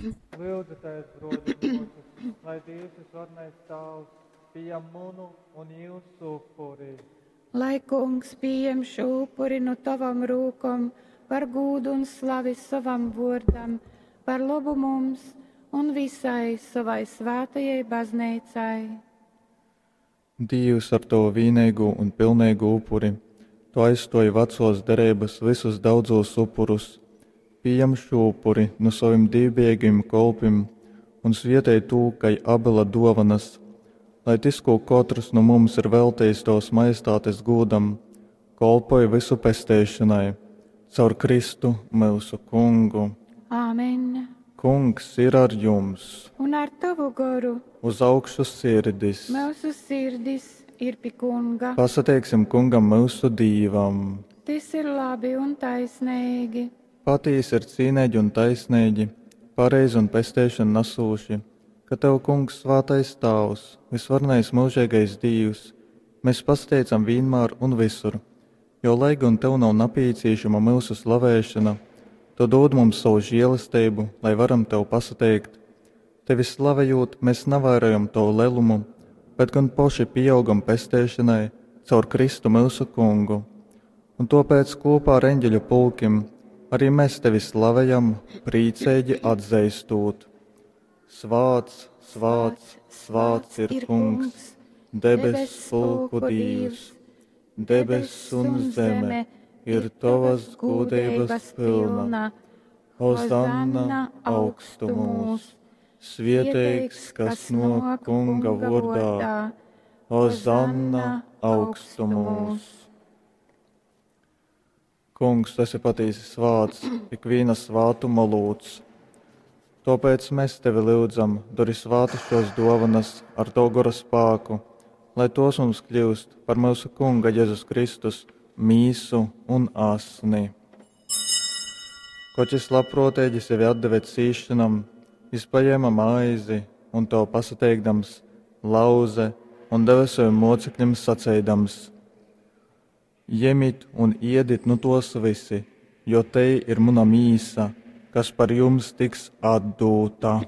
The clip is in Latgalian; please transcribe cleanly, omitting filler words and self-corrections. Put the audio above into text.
Lyudzitēs, bruoļi un muosys, lai Dīvs Vysvarenais Tāvs pījam munu un jiusu upuri. Lai Kungs pījem šū upuri nu tovom rūkom par gūdu un slavi sovam vuordam, par lobu mums un visai sovai svātajai bazneicai. Dīvs, ar tovu vīneigū un pilneigū upuri tu aizstuoji vacuos dereibys vysus daudzūs upurus. Pījam šū upuri nu sovim dīvbijeigajim kolpim un svietej tū kai Abela duovanys, lai tys, kū kotrs nu mums ir veltejis tovys majestātes gūdam, kolpoj vysu pesteišonai. Caur Kristu, myusu Kungu. Āmen. Kungs ir ar jums! Un ar tovu goru. Uz augšu sirdis! Myusu sirdis ir pi Kunga. Pasateiksim Kungam myusu Dīvam! Tys ir labi un taisneigi. Patīsi ir cīneigi un taisneigi, pareizi un pesteišonu nasūši, ka tev, Kungs, svātais Tāvs, vysvarenais myužeigais Dīvs, mes pasateicam vīnmār un vysur, jo, lai gon tev nav napīcīšama myusu slavēšona, tu dūd mums sovu žēlesteibu, lai varam tev pasateikt. Tevi slavejūt, mēs navairojam tovu lelumu, bet gan poši pieaugam pesteišanai caur Kristu myusu Kungu. Un tōpēc kopā ar eņģeļu pulkim arī mēs tevi slavejam, prīceigi atzeistot. Svāts, svāts, svāts ir Kungs, debess pulku Dīvs, debess un zeme ir tovas gūdeibas pilna. Hozanna augstumūs! Svieteigs, kas nāk Kunga vārdā, Hozanna augstumūs! Kungs, tu esi patīsi svāts, ikviena svātuma lūdz. Tāpēc mēs tevi lyudzam, dori svātas šos dovanas ar tavu gora spāku, lai tos mums kļūst par mūsu Kunga Jēzus Kristus mīsu un asni. Koč jis labprōteigi sevi atdeve cīšanam, jis paņēma maizi un to pasateikdams, lauze un deve saviem mocekļiem saceidams: Jemit un iedit nu tos visi, jo te ir muna mīsa, kas par jums tiks atdūta.